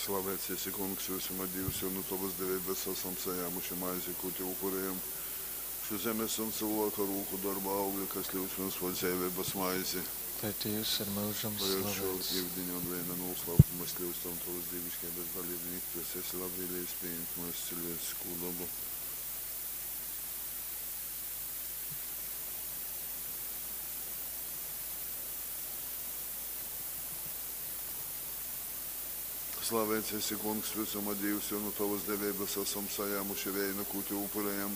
Slaveits esi, Kungs, vysuma Dīvs, jo nu tovas deveibas asam sajāmuši maizi, kū tev upurējam. Šu zemes un cylvāka rūku dorba augli, kas kļūst mums par dzeiveibas maizi. Lai Dīvs ir myužam Lai ar šo slaveits. yudiņa un veina noslēpumu mēs kļūstam tavas dievišķības dalībnieki, kas esi labvēlējis pieņemt mūsu cilvēcisko dabu. Slaveits esi, Kungs, visuma Dievs, jo no tavas deveibas esam sajāmuši veina, ko tev upurējam.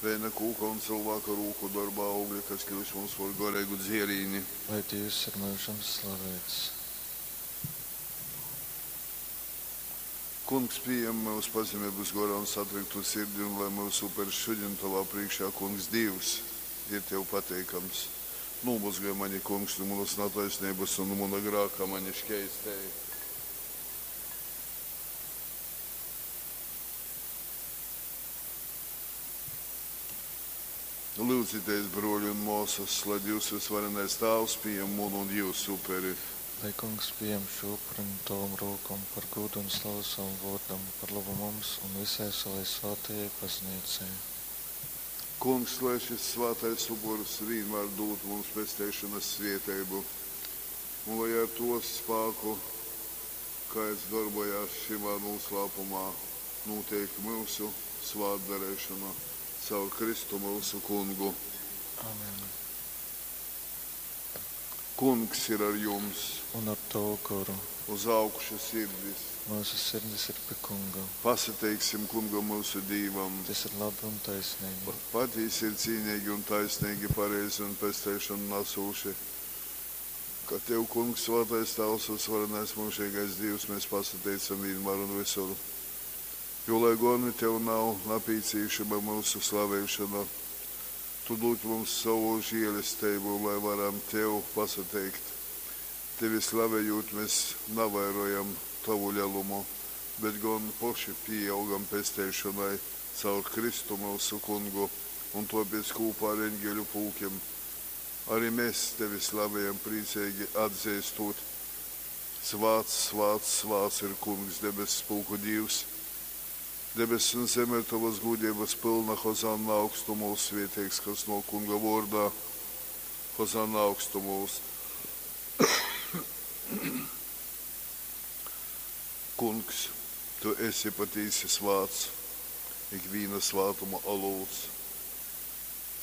Veina kūka un cilvēka rūku darba augļi, kas kļūst mums par garīgu dzierīni. Lai Dievs ir myužam slaveits. Kungs, pieņem mūsu pazemības gorā un satriktu sirdi, un lai mūsu upers šodien tavā priekšā, Kungs, Dievs, ir tev pateikams. Nomazgāj mani, Kungs, no manas netaisnības un no mana grāka mani šķeistēji. Lūdzieties, broļi un māsas, lai Dievs visvarenais Tēvs pieņem manu un jūsu uperi. Lai Kungs pieņem šo upuri no tavam rokām par godu un slavu savam vārdam, par labu mums un visai savai svētajai baznīcai. Kungs, lai šis svētais upuris vienmēr dod mums pestīšanas svētību, un lai ar to spēku, kāds darbojās šimā noslēpumā, notiek mūsu svētdarīšana caur Kristu mūsu kungu. Amen. Kungs ir ar jums, Un ar tavu goru. uz augšu sirdis. Mūsu sirdis ir pie Kunga. Pasateiksim kungam mūsu Dievam. Tas ir labi un taisnīgi. Patiesi ir cīnīgi un taisnīgi, pareizi un pesteišanu nesūši. Ka Tev, Kungs, svētais Tēvs un svarenais mūžīgais Dievs, mēs pasateicam vienmēr un visur. Jo, lai gan Tev nav napīcīšama mūsu slavēšana, Tu dod mums savu žēlestību, lai varam Tev pasateikt. Tevi slavējot, mēs navairojam Tavu lielumu, bet gan poši pieaugam pesteišanai caur Kristu mūsu kungu un tāpēc kopā ar eņģeļu pulkiem. Arī mēs tevi slavējam priecīgi atzīstot. Svāts, svāts, svāts ir kungs debesu pulku Dievs. Debesis un zeme ir tavas gudrības pilna, Hozanna augstumos, svētīgs, kas no kunga vārdā, Hozanna augstumos. Kungs, tu esi patiesi svāts, ikviena svātuma olūts.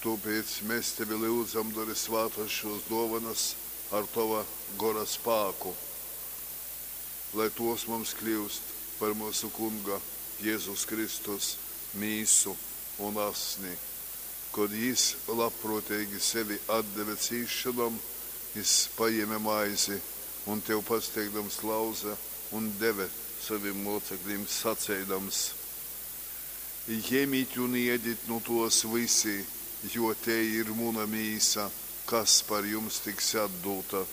Tāpēc mēs tevi lūdzam, dari svātas šos dovanas ar tava gora spēku, lai tos mums kļūst par mūsu kunga Jēzus Kristus mīsu un asni. Kad jis labprātīgi sevi atdeva cīšanām, jis paņēma maizi un tev pasteigdams lauza un deva saviem mocekļiem sacēdams: Ņemiet un ēdiet no tos visi, jo te ir muna mīsa, kas par jums tiks atdota.